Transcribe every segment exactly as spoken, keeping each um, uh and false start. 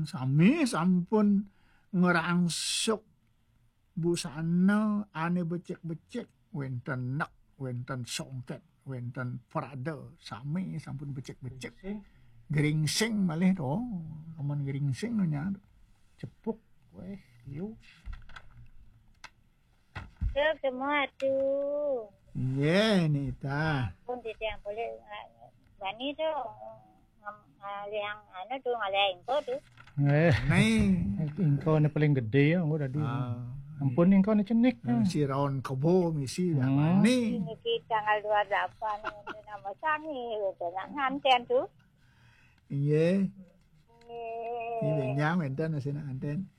Sami sampun ngrangsuk busana ane becik-becik, wenten nek, wenten songket, wenten prada, sami sampun becik-becik. Geringsing malih to, amun geringsing nya. Cepuk, weh, yu. Cepuk semua tu. Nggih, Nita. Pun titiang boleh, ah, bani tu, ngam-, ngalih anu tu, ngalih ingko tu. Eh, Nih. Ingko ni paling gede ya, engko tadi. Ah, ampun, ingko ni cenik. Nah, si raun kebo misi dah. Hmm. Nih. Ini kita tanggal dua puluh delapan ini nama sangi, udah nak nganten tu. Iya. Iya. Ini benyang wenten, masih nak nganten.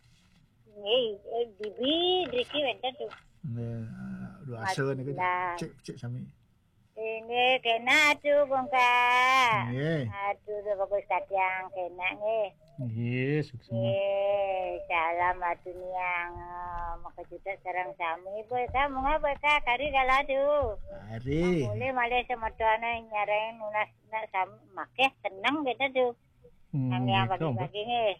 Iya, eh, bibi, driki wenten tu. Nggih, dua asa ni kan. Cek, cek sami. Ini kena tu, Bungka. Nggih. Aduh, tu bagus kacang, kena nggih. Nggih, suksma. Nggih, salam atu niang, eh, maka juta sareng sami. Boy ka, munga boy ka, kari kala tu. Kari. Boleh malih semetone nyareng nunas nak sami, makeh tenang kita tu. Hmm, nang yang gitu, bagi-bagi nggih.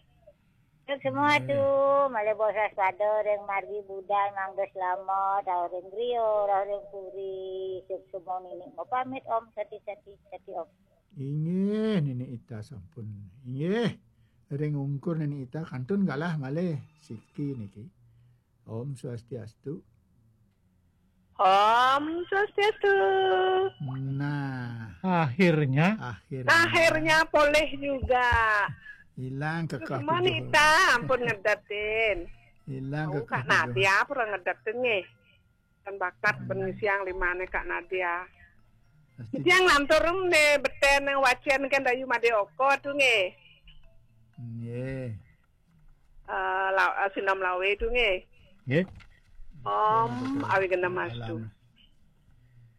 Untuk semua tu, malih bosas pada ring margi budal mangda slamet, rauh ring griya, rauh ring puri, suksumo nini mapamit, Om Sati Sati Sati Om. Inggih, Nini Ita sampun. Inggih. Ring ungkur Nini Ita kantun galah malih siki niki. Om Swastiastu. Om Swastiastu. Nah, akhirnya. Akhirnya. Akhirnya polih juga. Hilang kekeh. Cuman tujuh. Ita ampun ngedetin. Hilang. Oh, kekeh Kak tujuh. Nadia pura ngedetin nggih. Kan bakat. Hmm. Bengisiang limane Kak Nadia. Pasti. Yang lantur ne beten yang wacen kan dayu made oko tu nggih. Nggih. Eh, la-, eh, Sinam Lawe tu nggih. Nggih. Om Awi Genemastu.